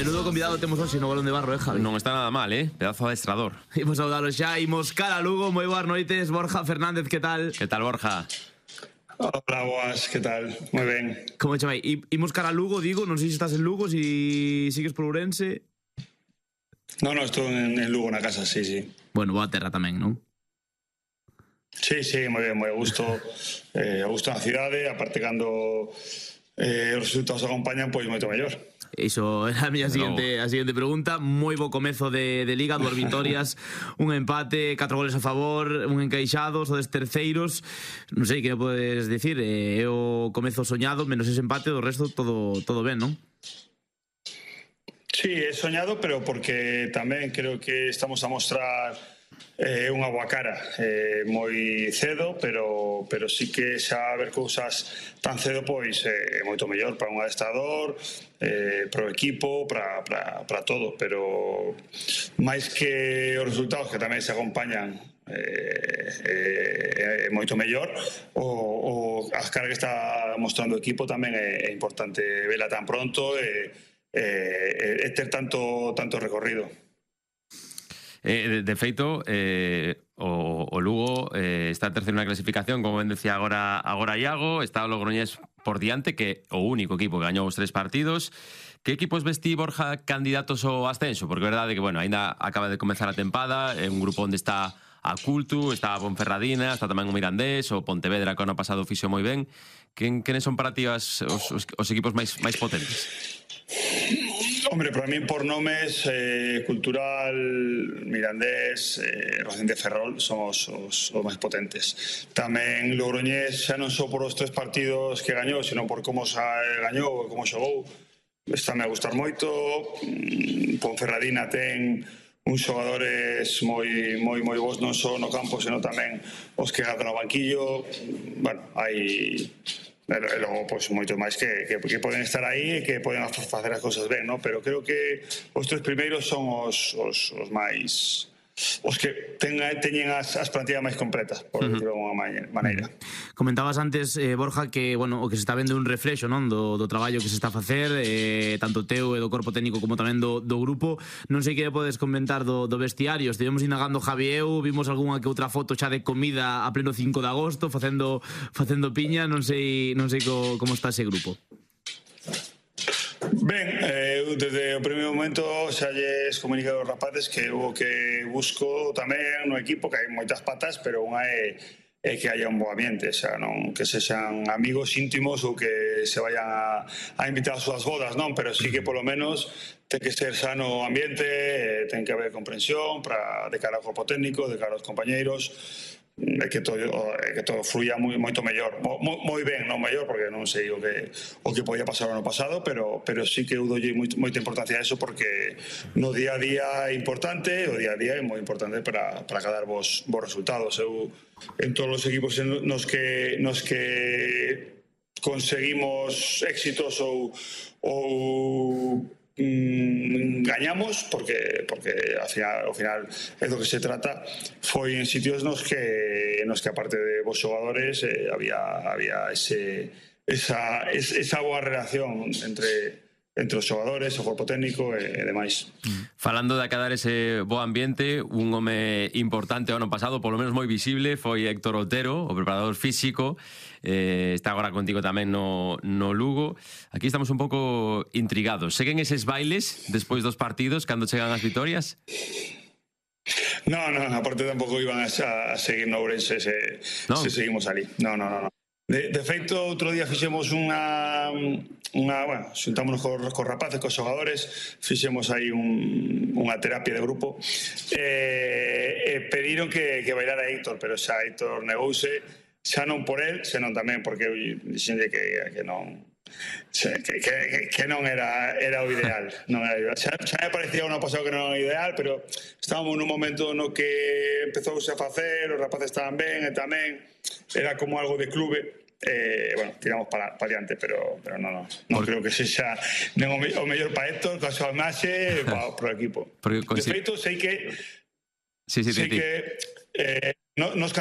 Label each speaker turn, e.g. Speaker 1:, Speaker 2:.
Speaker 1: menudo convidado temos hoxe no Balón de Barro, Javi?
Speaker 2: Non está nada mal, pedazo de adestrador.
Speaker 1: Imos saudalo xa, imos cara a Lugo. Moi boas noites, Borja Fernández, que tal?
Speaker 2: Que tal, Borja?
Speaker 3: Hola, boas, que tal? Moi ben.
Speaker 1: Como che vai? Imos cara a Lugo, digo, non sei se estás en Lugo, si sigues por Ourense.
Speaker 3: No, estou en Lugo na casa, sí.
Speaker 1: Bueno, boa terra tamén, non?
Speaker 3: Sí, moi ben, moi a gusto na cidade, aparte cando os resultados acompañan, pois moito mellor.
Speaker 1: Iso era a miña seguinte pregunta. Moi bo comezo de Liga, 2 vitorias, un empate, 4 goles a favor, un encaixado, sodes terceiros. Non sei que podes dicir, é o comezo soñado, menos ese empate, do resto todo ben, non?
Speaker 3: Sí, é soñado, pero porque tamén creo que estamos a mostrar unha boa cara moi cedo, pero sí que xa ver cousas tan cedo pois é moito mellor para un adestrador, para o equipo, para todo, pero máis que os resultados que tamén se acompañan é moito mellor, o as caras que está mostrando o equipo tamén é importante vela tan pronto e ter tanto recorrido.
Speaker 2: De feito, o Lugo está terceiro na clasificación, como ben decía agora Iago. Está o Logroñés por diante, que o único equipo que gañou os 3 partidos. Que equipos vestí, Borja, candidatos ao ascenso? Porque é verdade que, bueno, ainda acaba de comezar a tempada, é un grupo onde está a Cultu, está a Ponferradina, está tamén o Mirandés, o Pontevedra, que o ano pasado fixo moi ben. Quenes son para ti os equipos máis potentes?
Speaker 3: Hombre, para mí por nomes, Cultural, Mirandés, Rocín de Ferrol son os máis potentes. Tamén Logroñés xa non só por os 3 partidos que gañou, sino por como gañou, como xogou, estáme a gustar moito. Ponferradina ten uns xogadores moi bons, non só no campo, sino tamén os que gadan no banquillo. Bueno, hai... E logo, pois, moito máis que poden estar aí e que poden facer as cousas ben, non? Pero creo que os 3 primeiros son os máis... os que teñen as plantillas máis completas, por decirlo de alguma maneira.
Speaker 1: Comentabas antes, Borja, que, bueno, o que se está vendo un reflexo, non, do traballo que se está a facer, tanto teu e do corpo técnico como tamén do grupo. Non sei que podes comentar do vestiario. Estivemos indagando Javi e eu, vimos algunha que outra foto xa de comida a pleno 5 de agosto, facendo piña. Non sei como está ese grupo.
Speaker 3: Ben, eu desde o primeiro momento xa lles comuniquei aos rapaces que o que busco tamén no equipo, que hai moitas patas, pero unha é que haya un bo ambiente, xa non que sexan amigos íntimos ou que se vayan a invitar ás súas bodas, non, pero sí que polo menos ten que ser sano o ambiente, ten que haber comprensión de cara ao corpo técnico, de cara aos compañeiros, que todo fluya moito mellor, moi ben, non mellor, porque non sei o que podía pasar o ano pasado, pero sí que eu doulle moita importancia a eso, porque no día a día é importante, o día a día é moi importante para cadar vos resultados. Eu en todos os equipos nos que conseguimos éxitos ou gañamos, porque ao final é do que se trata, foi en sitios nos que aparte de vos xogadores había esa boa relación entre os xogadores, o corpo técnico e demais.
Speaker 2: Falando de acadar ese bo ambiente, un home importante o ano pasado, polo menos moi visible, foi Héctor Otero, o preparador físico. Está agora contigo tamén no Lugo. Aquí estamos un pouco intrigados. Seguen eses bailes despois dos partidos, cando chegan as vitorias?
Speaker 3: No, aparte tampouco iban a seguir no Ourense se seguimos ali. No. De feito, outro día fixemos xuntámonos cos rapaces, cos xogadores, fixemos aí unha terapia de grupo e pediron que bailara Héctor, pero xa Héctor negouse, xa non por él, senón tamén porque eu dixenlle que non era o ideal. Xa me parecía o ano pasado que non era o ideal, pero estábamos nun momento no que empezouse a facer, os rapaces estaban ben e tamén era como algo de clube. Tiramos para adiante, pero non creo que sexa o mellor para Héctor, coa súa imaxe, para o equipo. De feito, sei que nos